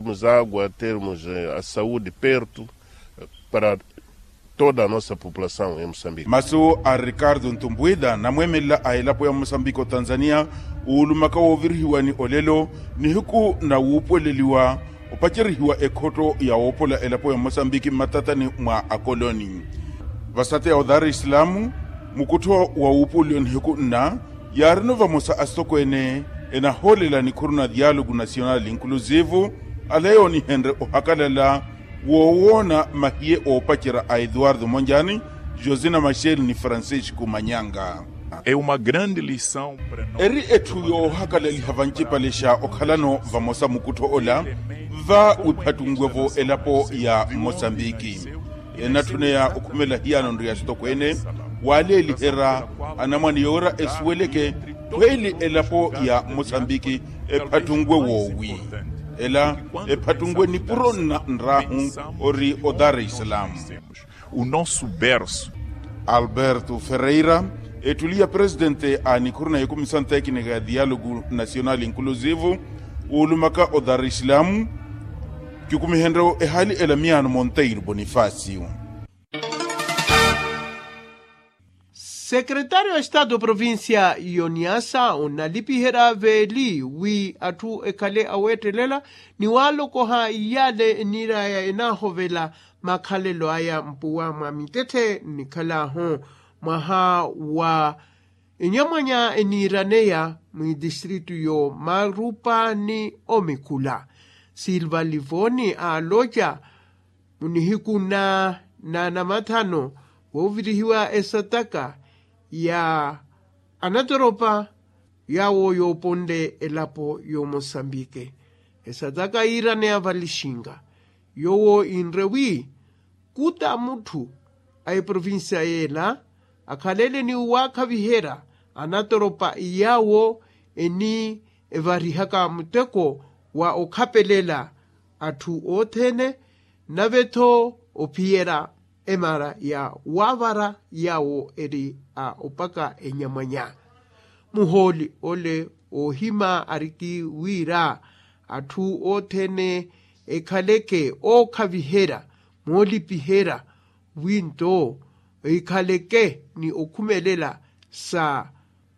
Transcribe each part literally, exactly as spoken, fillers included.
Temos água, temos a saúde perto para toda a nossa população em moçambique. Masu a ricardo ntumbwida namweemelela a elapo ya moçambique otanzania, uulumaka woovirihiwa ni olelo nihiku na wuupuweleliwa opacerihiwa ekhotto ya woopola elapo ya moçambique mmatatani mwa akoloni. Vasate ya odar islamu, mukuttho wa wuupuweliwa nihiku nna yaarino vamosa asitokweene enahoolela nikhuru na dialogu nacional inclusivo, ala yoonihenrye ohakalala woowoona mahiye oopacerya a eduardo monjani, josina machel ni francisco manyanga. É uma grande lição para nós. Eri etthu yoohakalaliha vancipale xa okhalano vamosa mukuttho ola va wiphattunwe-vo elapo ya moçambiki. Enatthuna ya okhumela hiyano nri ya sitokweene waaleeliherya anamwane yoora esuweleke khweeli elapo ya moçambiki ephattunwe woowi. Ela ephattunwe nipuro nna nraahu ori odar islamu. O nosso berço. Alberto ferreira, ettuli ya presidente a nikhuru na ya comissão técnica ya dialogo nacional inclusivo, uulumaka odar islamu kikumihenrye ehaali ela miyaano monteiro bonifacio. Sekretaari wa estado provincia yoniasa onalipiherya veeli wi atthu ekhale aweettelela ni waalokoha iyale eniiraya enaahovela makhalelo aya mpuwa mwa mitetthe nnikhal'ahu mwaha wa enyamwanya eniiraneya mwidistritu yo marupa ni omikhula. Silva livoni aaloca munihiku na namathano woovirihiwa esataka ya anatoropa yawo yooponle elapo y'omosambike. Esataka yiiraneya valixinga yowo inre wi kuta mutthu a eprovinsiya yeela akhalele ni waakhaviherya anatoropa yawo eni evarihaka muteko wa okhapelela atthu othene nave-tho ophiyerya emara ya waavara yawo eri a opaka enyamwanya. Muhooli ole oohima ariki wira atthu othene ekhaleke ookhaviherya moolipiherya wi nto ekhaleke ni okhumelela sa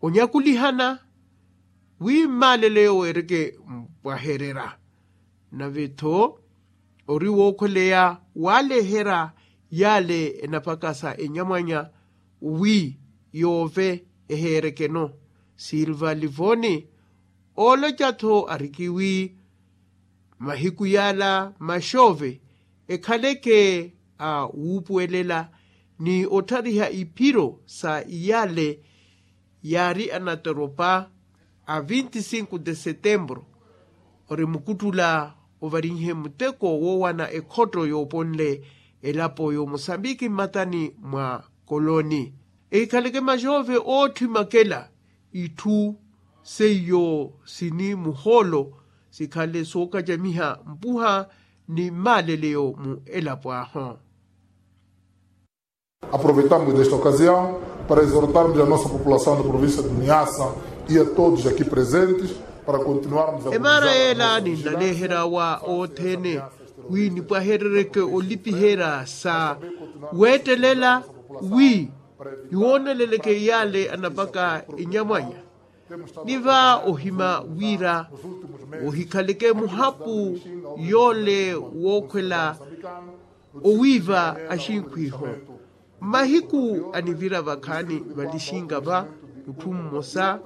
onyakulihana wi mmalele yowo ereke mpwahererya. Nave-tho ori wookhweleya waaleherya yale enapakasa enyamwanya wi yoove eheerekeno. Silva livoni ooloca-tho ariki wi mahiku yala maxoove ekhaleke a wuupuwelela ni otthariha iphiro sa iyale yaari anatoropa a vinte e cinco de setembro ori mukuttula ovarinhe muteko woowana ekhotto yooponle elapo y'omosambiki mmatani mwa koloni. Ehikhaleke maxoove ootthi makela itthu seiyo sini muhoolo sikhale sookacamiha mpuha ni mmaleleyo mu elapo ahu. Aproveitamos desta ocasião para exortarmos a nossa população da província de Niassa e a todos aqui presentes para continuarmos a emara yeela ninnaleherya wa othene wi nipwaherereke olipiherya sa weettelela wi niwooneleleke iyale anapaka enyamwanya. Ni va ohima wira ohikhaleke muhapu yole wookhwela owiiva axinkhwiho. Mmahiku anivira vakhaani valixinga va mutthu mmosa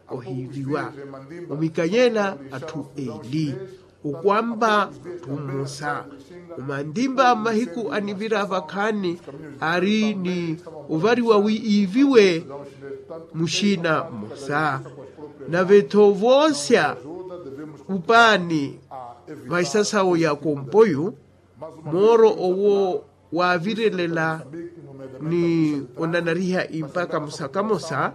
ohiiviwa omikanyela atthu eli okwampa mutthu mmosa omantimpa mmahiku anivira vakhaani ari ni ovariwa wi iiviwe muxiina mmosa. Nave-tho voosya upaani va isasawo ya kompoyu mooro owo waavirelela ni onanariha impaka mosakamosa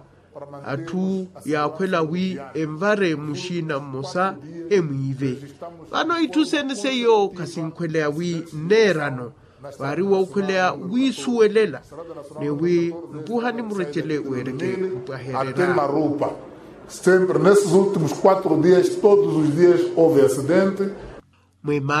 atthu yaakhwela wi envare muxiina mmosa emwiive. Vano itthu sene seiyo khasinkhweleya wi nneerano vaari wookhweleya wiisuwelela ni wi mpuha ni murecele weereke mpwahererya. Até na rupa sempre nesses últimos quatro dias todos os dias houve acidente. Mwema.